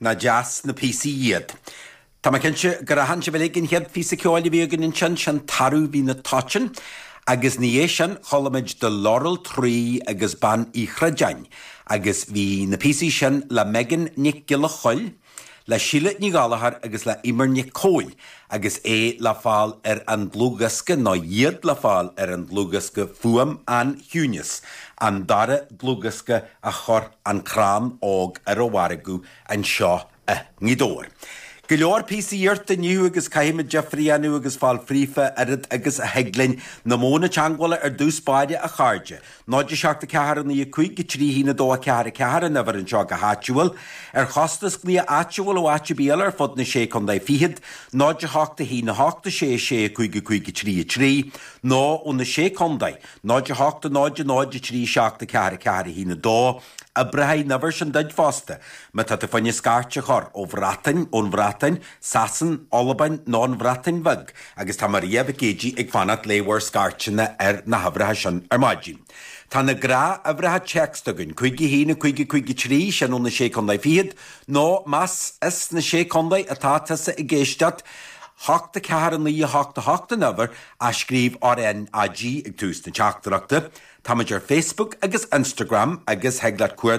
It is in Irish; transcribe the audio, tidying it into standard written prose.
Nach deas na píosaí iad. Tá mé cinnte gur aithin sibh uilig an chéad phíosa ceoil a bhí againn ansin, sin Tarbh Bhí na Toiteann, agus ina dhiaidh sin chuala muid The Laurel Tree agus Bean Uí Chroideáin, agus bhí na píosaí sin le Megan Nic Giolla Choill, le Síle Ní Ghallchóir agus le Eimear Nic Cóil, agus é le fáil ar an dlúthdhiosca, nó iad le fáil ar an dlúthdhiosca Fuaim an Chiúinis, an dara dlúthdhiosca a chuir An Crann Óg ar an mhargadh anseo i nGaoth Dobhair. Go leor píosaí iarrta inniu agus caithfimid difear a dhéanamh agus fáil fríofa oiread agus a thig linn. Na modhanna teagmhála ar dtús báire, a chairde. 0 7 4 9 5 3 1 2 4 4 an uimhir anseo go háitiúil. Ar chostas glaoch áitiúil ó áit ar bith eile ar fud na Sé Contae Fichead, 0 8 1 8 6 6 5 5 3 3, nó ó na Sé Contae, 0 8 0 0 3 7 4 4 1 2, Oibreoidh an uimhir sin duit fosta má tá tú fá choinne scairt a chur ó Bhreatain, ón Bhreatain, Sasain, Albain nó an Bhreatain Bheag agus tá Maria Mhic Géidigh ag fanacht le bhur scairteanna ar na huimhreacha sin ar maidin. Tá na gnáthuimhreacha téacs againn, 5 1 5 5 3, sin ó na Sé Contae Fichead, nó más as na Sé Contae atá tusa ag éisteacht, 8 4 9 8 8 an uimhir, ach scríobh RNAG ag tús na teachtaireachta. Táimid ar Facebook agus Instagram agus thig leat cuardach.